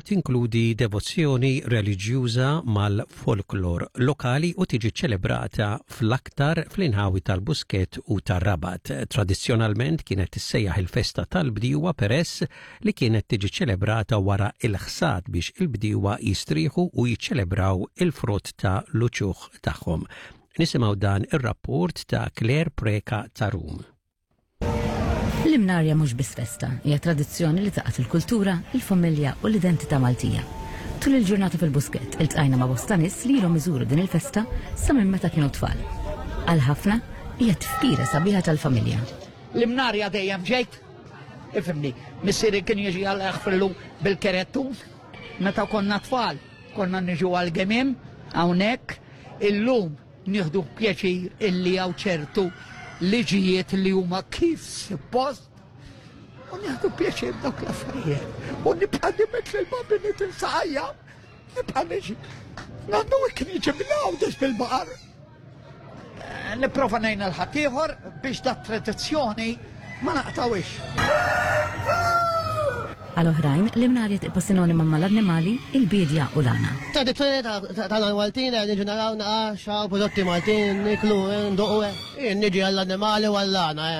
Tinkludi devozzjoni reliġjuża mal-folklor lokali u tiġi ċelebrata fl-aktar fl-inħawi tal-Buskett u tar-Rabat. Tradizzjonalment kienet tissejjaħ il-festa tal-bdiewa peress li kienet tiġi ċelebrata wara il-ħsad biex il-bdiewa jistrieħu u jiċċelebraw il-frott ta' l-uċuħ tagħhom. Nisimgħu dan ir-rapport ta' Claire Preca ta' Rum. L-Imnarja mhux biss festa, hija tradizzjoni li tgħaqqad il-kultura, il-familja u l-identità Maltija. Tul il-ġurnata fil-Buskett iltqajna ma' bosta nies li ilhom iżuru din il-festa sa minn meta kienu tfal. Għal ħafna hija tifkira sabiħa tal-familja. L-Imnarja dejjem ġejt, ifhimni, missieri kien jiġi għal jaħfirlu bil-kerettun, meta konna tfal, konna niġu għal-gemim hawnhekk, illum Nieħdu pjaċir illi hawn ċertu liġijiet li huma kif suppost u nieħdu pjaċir dawk l-affarijiet. U nibqa' nimet lil babini tinsaqajja, nibqa' niġi. Nannu kien jiġi mill-għawdex bil-baqar. Eh, nipprova ngħin l-ħaddieħor biex dat tradizzjoni ma naqtawix. Għal oħrajn, l-imnarja tibqa' sinonima mal-annimali, il-biedja u l-għana. Tradizzjoni tagħna l-Maltin qed niġu naraw naqa' x'hawn prodotti Maltin niklu nduqu. Jien niġi għall-annimali u għall-għana.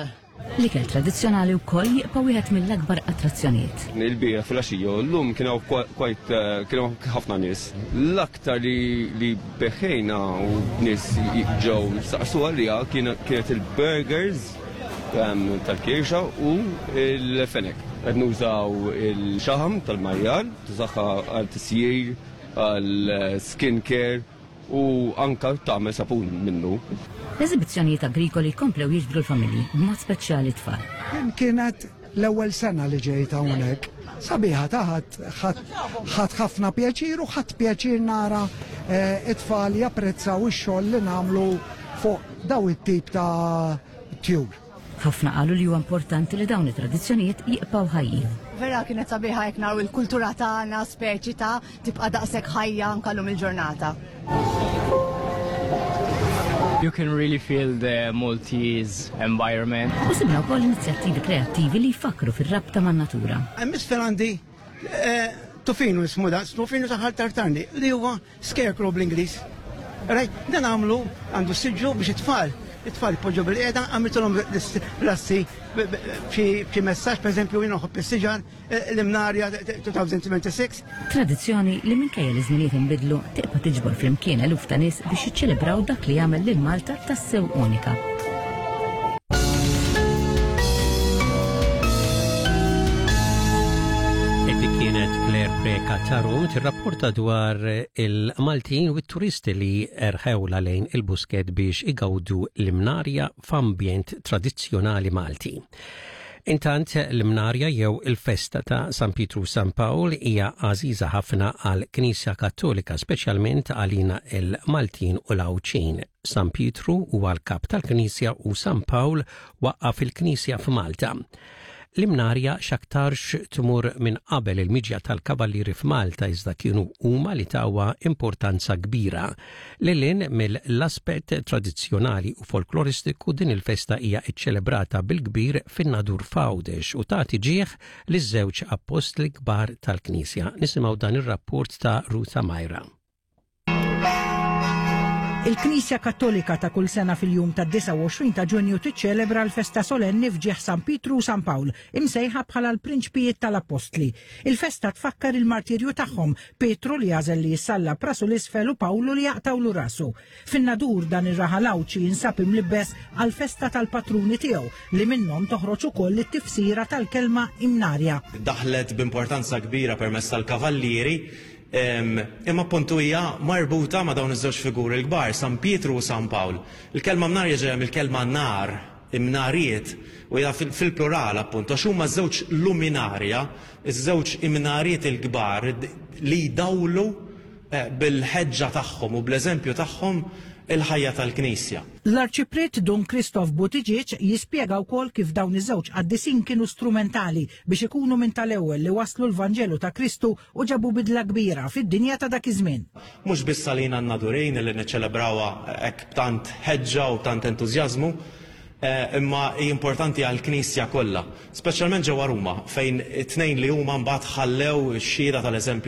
L-ikel tradizzjonali wkoll jibqa' wieħed mill-akbar attrazzjonijiet. Il-bieraħ filgħaxija u llum kien hawn quite kien hawn ħafna nies. L-aktar li beħejna u nies ġew saqsu għaliha kienet il-burgers tal-kirxa u l-fenek. Qed nużaw il-xaħam tal-majjal, tużaha għal tisjir, għal skin care u anka tagħmel sapun minnu. L-eżibizzjonijiet agrikoli komplew jiġbdu l-familji, b'mod speċjali t-tfal. Din kienet l-ewwel sena li ġejt hawnhekk. Sabiħa ta' ħadd ħadd ħafna pjaċir u ħadd pjaċir nara eh, it-tfal japprezzaw ix-xogħol li nagħmlu fuq daw it-tip ta' tjur. Ħafna qalu li huwa importanti li dawn it-tradizzjonijiet jibqgħu ħajjin. Vera kienet sabiħa jekk naraw il-kultura tagħna speċi ta' tibqa' daqshekk ħajja anke llum il-ġurnata. You can really feel the Maltese environment. U sibna wkoll inizjattivi kreattivi li jfakkru fir-rabta man-natura. Hemm isfel għandi eh, tufinu ismu da, tufinu taħal tartarni li huwa Scarecrow bl-Ingliż. Right? Dan għamlu għandu siġġu biex it-tfal, it-tfal jpoġġu bil-qiegħda, għamiltulhom l-assi b'xi messaġġ, pereżempju jien nħobb is-siġar, eh, l-imnarja 2026. Tradizzjoni li minkejja li żminijiet inbidlu tibqa' tiġbor flimkien eluf ta' nies biex jiċċelebraw dak li jagħmel lil Malta tassew unika. Dik kienet Claire Preca Tarum tirrapporta dwar il-Maltin u t-turisti li erħewla lejn il-Buskett biex igawdu l-imnarja f'ambjent tradizzjonali Malti. Intant l-Imnarja jew il-festa ta' San Pietru u San Pawl hija għażiża ħafna għal Knisja Kattolika, speċjalment għalina il-Maltin u l-Għawdxin. San Pietru huwa l-kap tal-Knisja u San Pawl waqqaf il-Knisja f'Malta. L-Imnarja x'aktarx tmur minn qabel il-miġja tal-Kavallieri f'Malta iżda kienu huma li tawha importanza kbira. Lil hinn mill-aspett tradizzjonali u folkloristiku din il-festa hija ċċelebrata bil-kbir fin-Nadur f'Għawdex u tagħti ġieħ liż-żewġ appostli kbar tal-Knisja. Nisimgħu dan ir-rapport ta' Ruth Amajra. Il-Knisja Kattolika ta' kull sena fil-jum tad-29 ta' Ġunju tiċċelebra l-festa solenni f'ġieħ San Pietru u San Pawl, imsejħa bħala l-Prinċpijiet tal-Appostli. Il-festa tfakkar il-martirju tagħhom, Pietru li għażel li jissallab rasu l-isfel u Pawlu li jaqtgħulu rasu. Fin-Nadur dan ir-raħal Għawdxi jinsab imlibbes għall-festa tal-patruni tiegħu li minnhom toħroġ ukoll it-tifsira tal-kelma Imnarja. Daħlet b'importanza kbira permezz tal-Kavallieri, imma appuntu hija marbuta ma' dawn iż-żewġ figuri l-kbar, San Pietru u San Pawl. Il-kelma Mnarja ġejja mill-kelma nar, imnariet, u hija fil-plural appuntu, għax huma żewġ luminarja, iż-żewġ imnariet il-kbar li jdawlu bil-ħeġġa tagħhom u bl-eżempju tagħhom il-ħajja tal-Knisja. L-Arċipriet Dun Christoph Buttigieg jispjega wkoll kif dawn iż-żewġ qaddisin kienu strumentali biex ikunu minn tal-ewwel li wasslu l-Vanġelu ta' Kristu u ġabu bidla kbira fid-dinja ta' dak iż-żmien. Mhux biss għalina n-Nadurin li niċċelebrawha hekk b'tant ħeġġa u b'tant entużjażmu, imma hi importanti għall-Knisja kollha, speċjalment ġewwa Ruma, fejn it-tnejn li huma mbagħad ħallew ix-xhieda tal-eżempju.